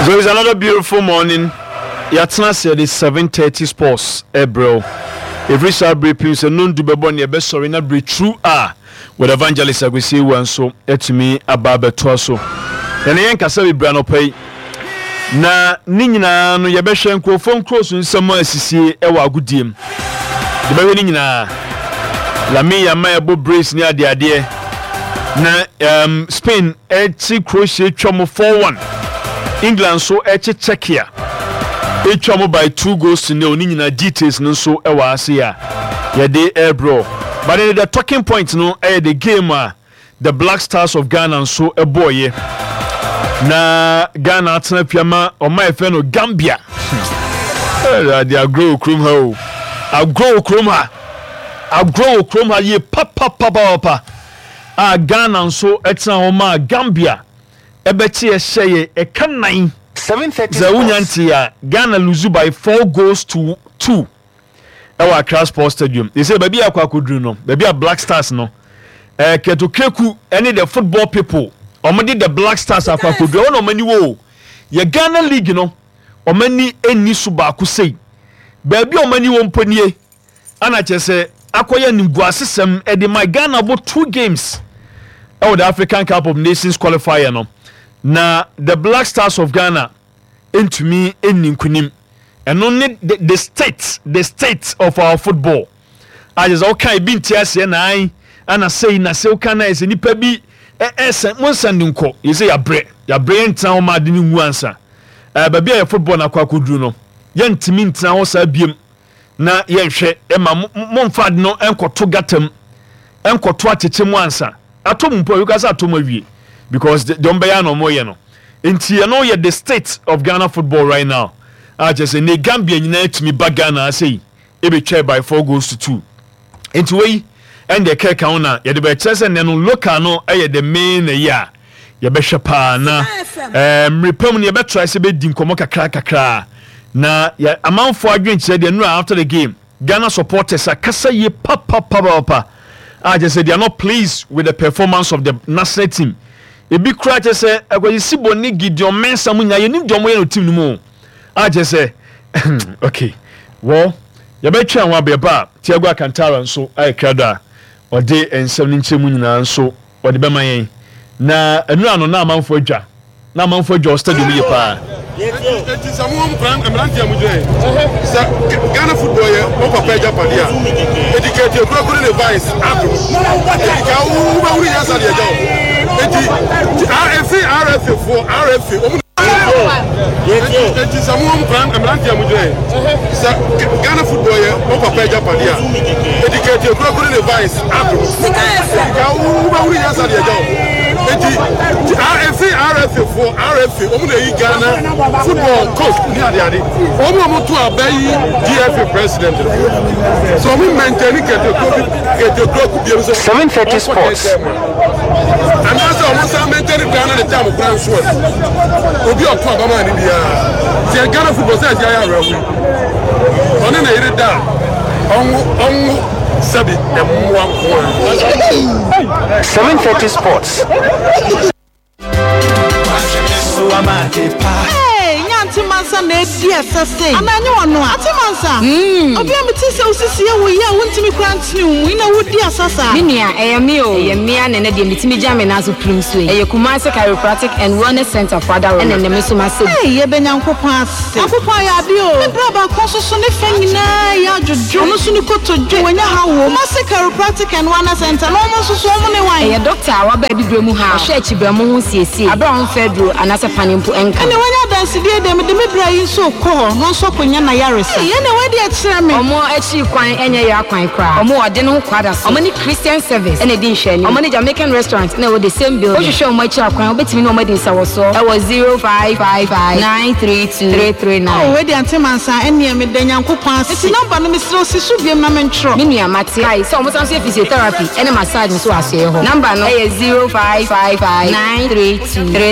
So it's another beautiful morning. Yɛatena ase yɛde 7:30 sports ɛbrɛ wo. Ɛfiri saa bere pim sɛ nondu bɛbɔ ne ɛbɛsɔre na bere true a with evangelist Akwasi Awuah nso atumi aba abɛtoa so. Yɛne yɛn kasa bebree anɔpa yi. Na ne nyinaa no yɛbɛhwɛ nkurɔfoɔ nkuro so nsɛm a asisie wɔ agodie mu. Yɛbɛhwɛ ne nyinaa. Lamine Yamal ɛbɔ brace ne adeadeɛ. Na Spain ɛkye Croatia atwa mu 4-1. England nso ɛkye Czechia atwa mu by 2 goals to nil. Ne nyinaa details no nso ɛwɔ ase a yɛde ɛrebrɛ. But then the talking point no ɛyɛ the game a The Black Stars of Ghana nso bɔɔyɛ na Ghana atena fie ama ɔma yɛfrɛ no Gambia. Awurade agorɔ wɔ kurom ha o. Agorɔ wɔ kurom ha. Agorɔ wɔ kurom ha yie papapapapa. A Ghana nso tena hɔ maa Gambia ɛbɛkye ɛhyɛ yɛ ɛka nan. Sɛ wonya nte a Ghana lose by 4 goals to 2. Ɛwɔ Accra Sports Stadium. They say baabi a akɔ akɔduru no, baabi a Black Stars no, Kurt Okraku ne the football people, wɔn de the Black Stars akɔ akɔduru, ɛhɔ na wɔn ani wɔ o. Yɛ Ghana League no, wɔn ani nni so baako sei. Baabi a wɔn ani wɔ mpo nie, ana kyerɛ sɛ akɔyɛ animguasesɛm de ma Ghana bɔ two games ɛwɔ the African Cup of Nations qualifier no, na the Black Stars of Ghana ntumi nni nkunim. Ɛno ne the state, the state of our football. A kyerɛ sɛ woka ebi nte aseɛ na an ana sei na sɛ woka na ɛsɛ nipa bi ɛsɛ mo nsa ne nkɔ yɛ sɛ yɛabrɛ yɛabrɛ yɛntena hɔ ma ade no nwu ansa. Ɛɛ baabi a yɛ football no akɔ akɔduru no yɛntumi ntena hɔ saa biem na yɛnhwɛ ɛma momfa ade no nkɔto gata mu nkɔto atɛkyɛ mu ansa. Atɔ mu mpo a, yɛka sɛ atɔ mu awie because deɛ wɔn bɛyɛ na wɔn yɛ no. Nti ɛno yɛ the state of Ghana football right now. A kyerɛ sɛ ne Gambia nyinaa tumi ba Ghana ase yi ebetwa by 4 goals to 2. Nti wei ɛn deɛ kɛka ho na yɛde bɛkyerɛ sɛ nnɛ no local no ɛyɛ the main ɛyɛ a yɛbɛhwɛ paa na mmere pa mu no yɛbɛtra sɛ bɛdi nkɔmmɔ kakra kakra na yɛ amanfoɔ adwenkyerɛ deɛ nura after the game. Ghana supporters akasa yie papapapapa a kyerɛ sɛ they are not pleased with the performance of the national team. Ebi koraa kyerɛ sɛ Akwasi Sibo ne Gideon Mensah mu nyinaa yɛnim deɛ wɔyɛ no team no mu o. A kyerɛ sɛ okay well yɛbɛtwɛn ho abɛɛba a Thiago Alcantara nso ayɛ krado a ɔde nsɛm no nkyerɛmu nyinaa nso ɔde bɛma yɛn. Na nnura no na amanfoɔ adwa na amanfoɔ adwa wɔ stadium yie paa. Enti sɛ mo mmeranteɛ a mogyina yi, sɛ Ghana football yɛ mo papa agyapadeɛ a, edi ka eti ekura kuro ne vice ado. Edi ka wobɛhunu nyansa deɛ agya wo. Enti efi RFA foɔ RFA wɔn Enti sɛ mo mmeranteɛ a mogyina yi, sɛ Ghana football yɛ mo papa agyapadeɛ a, edi ka eti ekura kuro ne vice ado. Edi ka wobɛhunu nyansa deɛ agya wo. Enti efi RFA foɔ RFA wɔn na eyi Ghana football coach ne adeade. Wɔn a wɔto aba yi GFA president no sɛ wɔn maintain kɛtɛkuro bi sɛ 7:30 Sports. Anaasɛ wɔn san maintain Ghana ne tam kora nso a obi a ɔto aba maa ne biara sɛ Ghana football sɛ ɛsi ayɛ awerɛho yi ɔne ne yere da a ɔnwo ɔnwo sɛbi mmoa nko ara. 7:30 Sports. Hey, nya Mansa na edi ɛsɛ se. Ana nye wɔn no a. Ante Mansa. Obi a mete sɛ osisi ewu yi a wontumi kura ntene wo mu yi na wodi asa saa. Me nua, ɛyɛ me o. Ɛyɛ me a na ɛnɛ deɛ metumi gya me nan so pirim so yi. Ɛyɛ Kumasi Chiropractic and Wellness Center fo adaworoma. Ɛna ɛnɛ me nso m'asɛm. Hey, yɛda Nyankopɔn ase. Nyankopɔn ayɛ ade o. Me bra baako nso so ne fɛ nyinaa yɛ adwodwo. Ɔno nso ne kotodwe wanya haw wɔ Kumasi Chiropractic and Wellness Center na wɔn nso so wɔn ne wan? Ɛyɛ dɔkta a waba abibire mu ha a ɔhwɛ akyibrɛmo ho siesie aberɛ a ɔmfa aduro anaasɛ pane mpo nka. Ɛnna wanya adansedie deɛ mede me bra yi nso rekɔ hɔ na ɔnso akɔnya n'ayaresa. Ei, ɛnna wei deɛ kyerɛ me. Wɔn akyiri kwan nyɛ yera kwan koraa. Wɔn wɔ ɔde no ho kwada so. Wɔn ne Christian Service na ɛdi nhwɛanim. Wɔn ne Jamaican Restaurant na ɛwɔ the same building. Wohwehwɛ wɔn akyiri akwan a, wobɛtumi ne wɔn adi nsawɔsoɔ wɔ 0555932339. Oh, wei deɛ Ante Mansa, ɛnneɛ meda Nyankopɔn ase. Nti number no mesrɛ wo si so biom na mentwerɛ. Me nua, mate. Kae sɛ wɔsan nso yɛ physiotherapy ne massage nso wɔ asoɛeɛ hɔ. Number no yɛ 05559323.